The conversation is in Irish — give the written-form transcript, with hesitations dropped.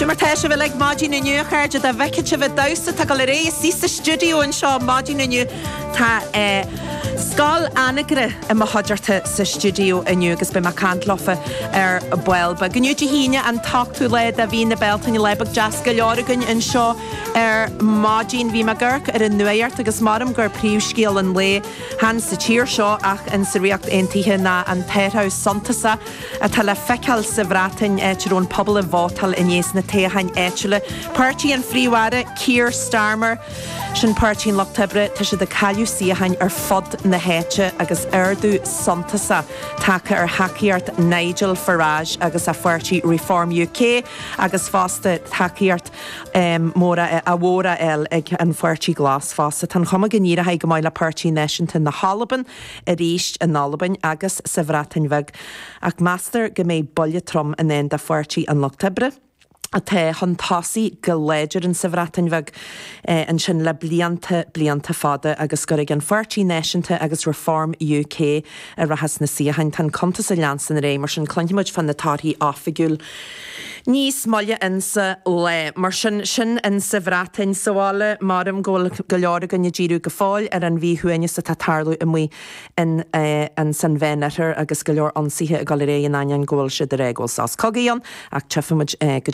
Sin mar tá sibh uilig maidin inniu, a chairde, dá bhfeicfeadh sibh an damhsa atá ag dul ar aghaidh istigh sa stiúideo anseo maidin inniu. Tá Scoil Anagaire i mo chuideachta sa stiúideo inniu agus beidh mé ag caint leofa ar ball beag. Inniu Dé hAoine an t-ochtú lá de mhí na Bealtaine, lá beag deas go leor againn anseo ar maidin. Bhí mé ag amharc ar an nuacht agus maram gur príomhscéal an lae chan sa tír seo ach in sa Ríocht Aontaithe ná an t-athrú suntasach atá le feiceáil sa Bhreatain, áit a raibh an pobal ag vótáil inné sna toghcháin áitiúla. Páirtí an Phríomh-Aire, Keir Starmer, sin Páirtí an Lucht Oibre, tá siad ag cailleadh suíocháin ar fud na háite agus ardú suntasach tagtha ar thacaíocht Nigel Farage agus a pháirtí Reform UK agus fosta tacaíocht mhór á fháil ag an Pháirtí Glas fosta. Tá an chuma go n-éireoidh go maith le Páirtí Náisiúnta na hAlban arís in Albain agus sa Bhreatain Bheag, ach meastar go mbeidh buille trom i ndán do Pháirtí an Lucht Oibre, atá chun tosaigh go láidir insa Bhreatain Bheag ansin le blianta, blianta fada, agus gur ag an Pháirtí Náisiúnta agus Reform UK a rachas na suíocháin. Tá an cuntas ag leanstan ar aghaidh, mar sin cluinfidh muid fá na torthaí oifigiúil níos moille insa lá. Mar sin, sin insa Bhreatain. Sa bhaile, maram go bhfuil go leor againn ag díriú go fóill ar an mhíshuaimhneas atá ag tarlú amuigh in insan Mheánoirthear agus go leor ionsaithe ag dul ar aghaidh in ainneoin go bhfuil siad ag rá go bhfuil sos cogaidh ann ach tchífidh muid go dtí.